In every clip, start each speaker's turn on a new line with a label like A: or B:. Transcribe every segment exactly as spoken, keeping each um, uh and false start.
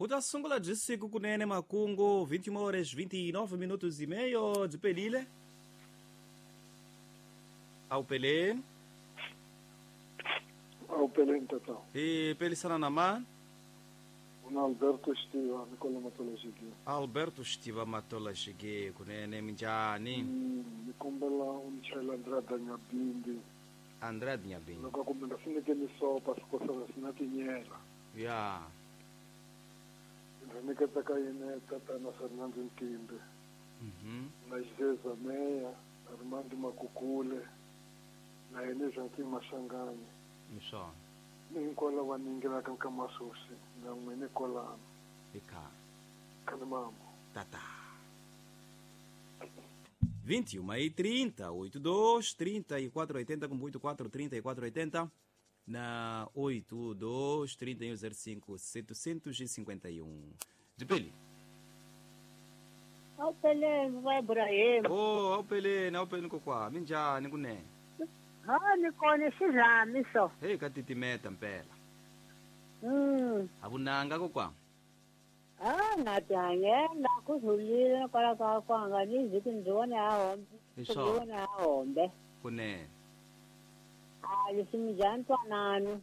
A: ta sungula byi siku kunene makungu vinte e uma horas vinte e nove minutos e meio byi pelile. Awu peleni.
B: Awu peleni tata.
A: Hi pelisana na mani?
B: Una Alberto Xtiva Nikola Matola Xige.
A: Alberto Xtiva Matola Xige kunene minjhani?
B: Ni kombela u ni chayela Andrade Nyabindi.
A: Andrade Nyabindi.
B: Loko kumbe nga fanekele ni sopa sikosana swi na tinyela.
A: Ya.
B: Ndzi nyiketa ka yena tatana Fernando Ntimbe.
A: Mhm.
B: Na Xizeza Meya, na Rimandi Makukule, na yena Joaquim Mashanganyi.
A: Hi swona.
B: Ni hinkwavo lava ningelaka ka masusi na n'wini kwalano.
A: Eka.
B: Kanimamo.
A: Tata. vinte e uma e trinta, oito dois, trinta e quatro oitenta, com oito quatro, trinta e quatro oitenta, na oito dois, trinta e um zero cinco, setecentos e cinquenta e um. De Peli.
C: Ao Pele, vai por aí.
A: Oh, ao Pele, ao Pele kokwa, minjani kunene.
C: Ha ni kone xizami so.
A: Hey ka titimeta mpela.
C: Mm.
A: Avunanga kokwa.
C: Ah, na tihanyela ku rhulile kwala ka kwanga ni vhiki ndzi vone a hombe.
A: Hi
C: Ndzi vone a hombe.
A: Kunene.
C: A leswi minjhani ntwanano.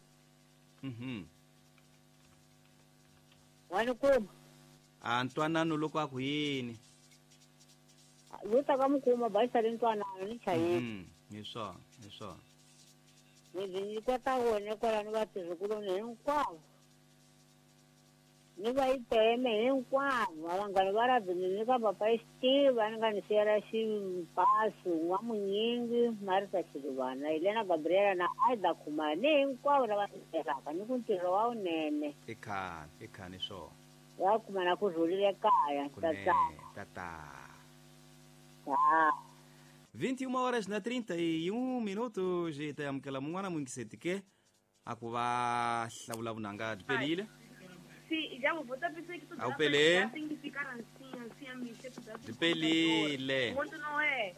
A: Mhm.
C: Wa ni kuma.
A: A ntwanano loko a ku yini?
C: Yo ta ka mi kuma ba xale ntwanano ni chayile.
A: Mhm. Hi swona, hi swona.
C: Ni ndzi nyiketa wona kwalano vatirhikuloni hinkwavo. Ni va yi teme hinkwavo vanghana va ra ni nyika papa Xitiva ni nga ni siyela ximpasu n'wamunyingi Marisa Xiluvana Helena Gabriela na Aida Khumalo ni hinkwavo lava tirhaka ni ku ntirho wa wunene.
A: I khale, i khale swona.
C: Va kuma na ku rhulile kaya
A: Kunene, tata.
C: Ha.
A: vinte e uma horas na trinta e um minutos e ta amukela mun'wana muyingiseti ke a ku va hlawula vunanga byi pelile.
D: Sí, ya vos te pensé que tú
A: Au Pelé.
D: tem que ficar assim, assim, a mexer tu
A: Byi pelile.
D: Quanto não é?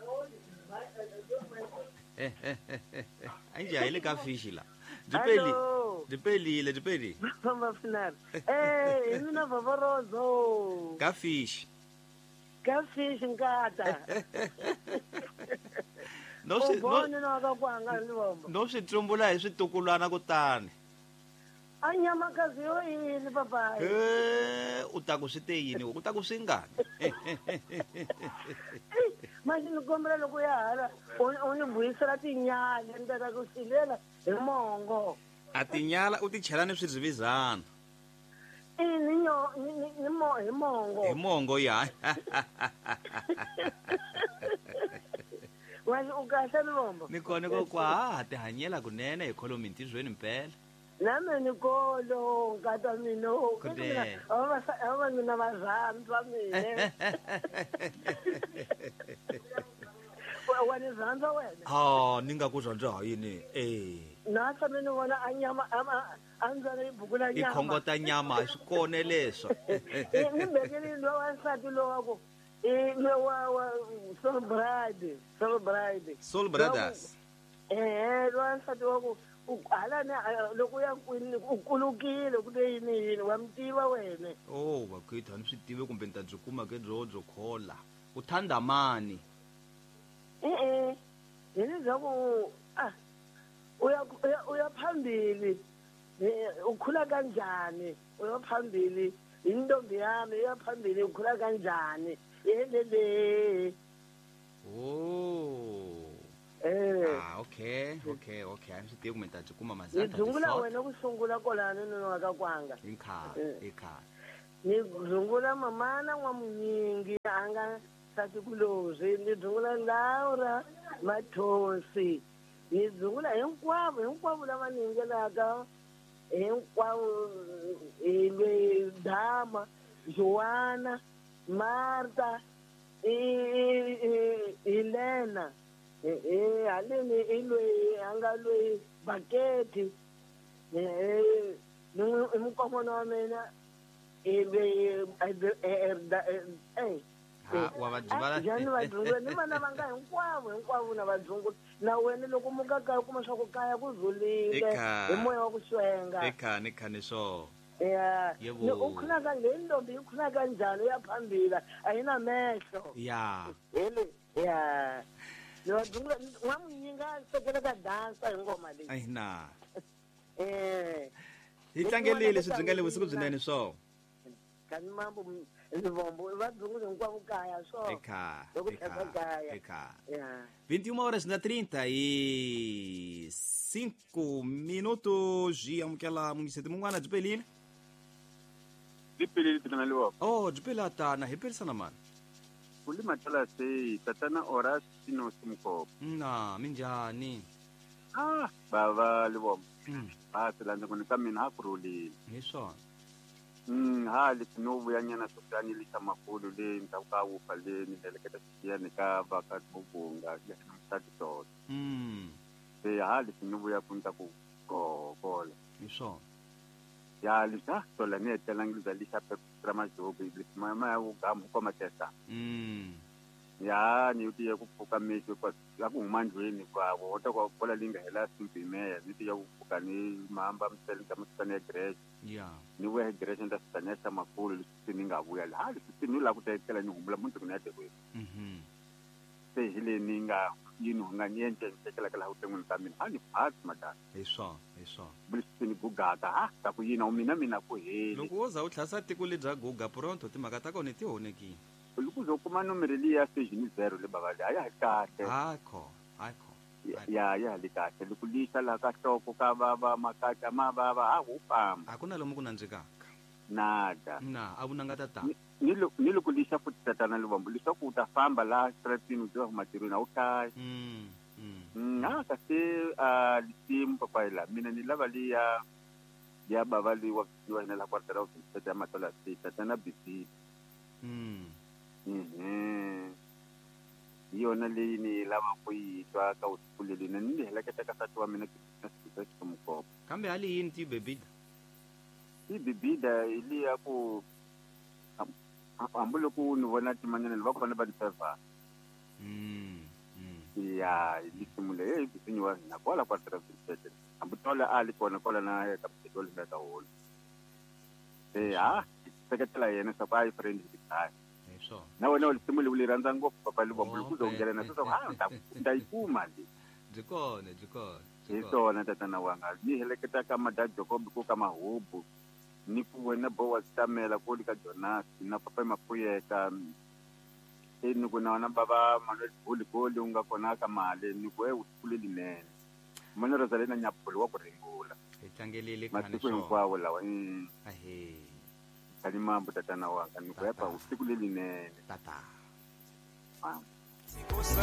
A: A njhe hi le ka fishi la. Byi peli. Byi pelile, byi pelile.
E: Famba final. Eh, hi mina Vavorozo.
A: Ka fishi.
E: Ka fishi nkata.
A: No swi no
E: no ka kwanga ni vomba.
A: no swi tsumbula hi switukulwana kutani.
E: A nyamakazi yo yini papayi.
A: Eh, u ta ku swi te yini, u ta ku swi ngani?
E: Manje ni kombela loko ya hala u ni vuyisela tinyala ni ta ku silela hi mongo.
A: A tinyala u ti chela ni swirhivizana.
E: I ni nyo ni ni mo hi mongo.
A: Hi mongo ya.
E: Wa u kahle ni vomba.
A: Ni kona ko kwa ha tihanyela kunene hi kholomi ntirhweni mpela.
E: Nami ni kolo nkata mina
A: Kunene.
E: ava mina va rhandza mina. Wa ni rhandza wena?
A: Ha ni nga ku rhandza ha yini? Eh.
E: Na tshame ni vona a nyama a ndzana yi bukula
A: I
E: nyama.
A: khongota nyama swi kone leswo.
E: Ni bekele lowa wansati lowa ku i lowa wa Soul Bride, Soul Bride.
A: Soul Brothers.
E: Eh, lowa wansati wa ku hala ni loko ya kwini u kulukile ku te yini yini wa mi tiva wena.
A: Oh, vakhwethu a ni swi tivi kumbe ni ta byi kuma ke byo byo khola. U thanda mani?
E: E-e, hi leswaku ah uya uya phambili ukhula kanjani uya phambili intombi yami uya phambili ukhula kanjani yelele.
A: Oh.
E: Eh.
A: Ah, okay, okay, okay. A ni swi tivi kumbe ni ta byi kuma mazata.
E: Ni dzungula wena ku sungula kwalano ni wa ka kwanga.
A: Hi khale, hi khale.
E: Ni dzungula mamana n'wamunyingi a nga nsati kulozwi, ni dzungula Laura Mathosi. Ni dzungula hinkwavo, hinkwavo lava ni yingelaka hinkwavo hi lweyi Dama, Joana, Marta, Helena. Eh haleni i lweyi a nga lweyi Baketi. Eh ni mukomana wa mina i lweyi eh
A: Ha wa va byi
E: njhani va dzungula ni vana va nga hinkwavo hinkwavo na va dzungula na wena loko muka kaya kuma swa ku kaya ku rhulile hi moya wa ku xwenga.
A: I khani khani swo.
E: Ya.
A: Yebo.
E: Ni ukhona ka le ntombi ikhona kanjani uyaphambili ayinamehlo.
A: Ya.
E: Hele ya. Lo dungula n'wamunyinga sekela ka dansa hi ngoma leyi.
A: Ai na.
E: Eh.
A: Hi tlangelile swi byingale vusiku byinene swo.
E: Kani mambo Livombo va dzungule hinkwavo kaya swo.
A: Eka.
E: Loko
A: Eka.
E: tlhela kaya.
A: Eka.
E: Ya.
A: vinte e uma horas na trinta e cinco minutos e amukela mungiseti mun'wana byi pelile.
F: Byi pelile tana Livombo.
A: Oh, byi pela tana hi pelisana mani.
F: Kulima tala sei tatana Horas Sino Simkopo.
A: Na, minjhani?
F: Ah, bava Livombo.
A: Mm.
F: Ah, silandza ku ni ka mina ha kurhulile.
A: Hi swona.
F: Mm, ha leswi no vuyanyana swo ni lixa makulu le ndzhaku ka wufa le ni heleketa xiyani ka va ka Bubunga ya musati tolo.
A: Mm.
F: Se ha leswi no vuya ku ni ta ku gogola.
A: Hi swona.
F: Ya lixa tola ni hetelangi bya lixa ra majobi leswi ma ma ya wugamu ko matesa.
A: Mm.
F: Ya ni ti ya ku pfuka mixo kwa ya ku huma ndlwini kwa wota kwa bola leyi nga hela simpimela ni ti ya ku pfuka ni mhamba misele ka misane ya greche.
A: Ya.
F: Ni vuya hi greche ni ta fika ni ya xa makulu leswi ni nga vuya laha leswi ni lava ku ta etlela ni humula mundzuku ni ya tekweni.
A: Mhm.
F: Se hi leyi ni nga yi ni nga ni endle ni tekela ka laha vuton'wini ka mina a ni phasi madala.
A: Hi swona, hi swona.
F: Leswi ni gugaka ha ta ku yina mina mina ku heli.
A: Loko wo za u tlhasa tiko lebya guga pronto timhaka ta kona ti honekile.
F: Loko uzo kuma nomero liya station zero le baba le a ya ha kahle.
A: Hakho, hakho.
F: Ya ya li kahle loko lixa laha ka nhloko ka vava makatla ma vava ha wu famba.
A: A ku na lomu ku nandzikaka.
F: Nada.
A: Na, a vunanga ta ta.
F: Ni loko ni loko lixa futhi tatana Livombo leswaku u ta famba laha stratini u tiva matirhweni a wu hlayi.
A: Mm. Mm.
F: Mm, a kasi a lisimu papayi la mina ni lava liya ya bava liwa wa hina la kwartera wa ya matola si tatana B C.
A: Mm.
F: Mhm. Hi yona leyi ni lava ku yi twa ka vusiku leli na ni heleketa ka nsati wa mina na Ximkopo.
A: Kambe hali yini ti bebida?
F: Ti bebida hi liya ku hambi loko ni vona timanyana va kona va ni favor.
A: Mm. Mm.
F: Ya, hi lisimu leyi hi bisinyi wa hina kwala kwa Travis. Hambi tola a li kona kwala na ka petrol ka holo. Eh ha, seketela yena swa ku a yi friend hi khaya.
A: Hi swona.
F: Na wena u lisimu leyi u li rhandza ngopfu papa Livombo loko u zo nghena na sweswo ha ta ta yi kuma le.
A: Byi kona, byi kona.
F: Hi swona tatana wanga ni heleketa ka Mada Jacob ku ka Mahubu ni ku wena bo wa Tamela ku li ka Jonas na papa Mapuyeka e ni ku na wena baba Manuel Goli Goli u nga kona ka mali ni ku e u kule linene mana Rosalina Nyapholo wa ku ringula.
A: Hi tlangelile khani
F: masiku
A: swona.
F: Hinkwawo lawa mm.
A: Ahe.
F: Kani mambo tatana wanga ni ku epa usiku lelinene.
A: Tata.
F: Ah.
G: Kosa